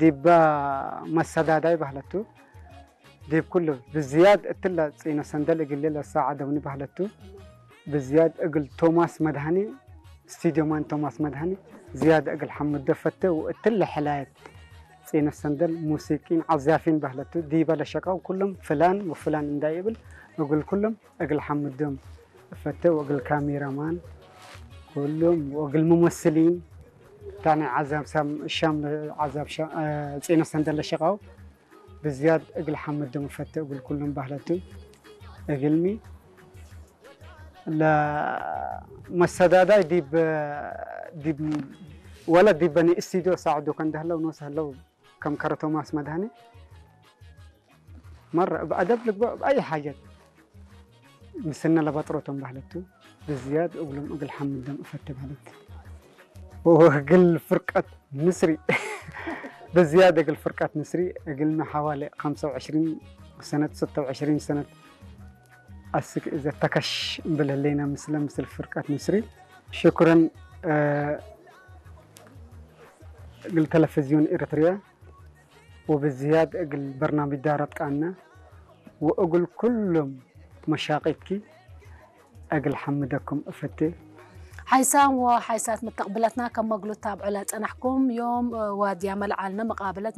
ዲባ መሰዳዳይ ባህለቱ ዲብ ኩሉ ብዝያድ እትለ ጺነ ሰንደል እግል ለሳዓደውኒ ባህለቱ ብዝያድ እግል ቶማስ መድሃኒ ስቱዲዮ ማን ቶማስ መድሃኒ ዝያድ እግል ሓምዶ ፈተ ወእትለ ሕላየት ጺነ ሰንደል ሙሲቂን ዓዛፊን ባህለቱ ዲበ ለሸቃው ኩሎም ፍላን ወፍላን እንዳይብል እግል ኩሎም እግል ሓምዶም ፈተ ወእግል ካሜራማን ኩሎም ወእግል ሙመስሊን ታኒ ዓዛብ ሳም ሻም ዓዛብ ሻ- እ፣ ጺነ ሰንደል ለሸቃው ብዝያድ እግል ሓምዶም ፈተ እግል ኩሎም ባህለቱ እግልሚ ለመሰዳዳይ ዲብ ዲብ ወላ ዲበኒ ስቱዲዮ ሳዕዱ ከንደህለው ኖስ ህለው ከም ከረ ቶማስ መድሃኒ መረ ብኣደብ ልግበእ ብኣይ ሓጀት ምስነ ለበጥሮቶም ባህለቱ ብዝያድ እግሎም እግል ሓምዶም እፈተ ባህለት ወእግል ፍርቀት ንስሪ ብዝያድ እግል ፍርቀት ንስሪ እግልሚ ሓዋለ خمسة وعشرين ሰነት ستة وعشرين ሰነት ኣስክ እዘ ተከሽ እምብል ህለይና ምስለ ምስል ፍርቀት ንስሪ ሽኩረን እግል ተለፍዝዮን ኤርትርያ ወብዝያድ እግል በርናምጅ ዳረት ቃና ወእግል ኩሎም መሻቂትኪ እግል ሓምደኩም እፈቴ። ሓይሳም ወሓይሳት መተቕብለትና ከም መግሉት ታብዕለ ጸናሕኩም ዮም ዋድያ መልዓልነ መቃብለት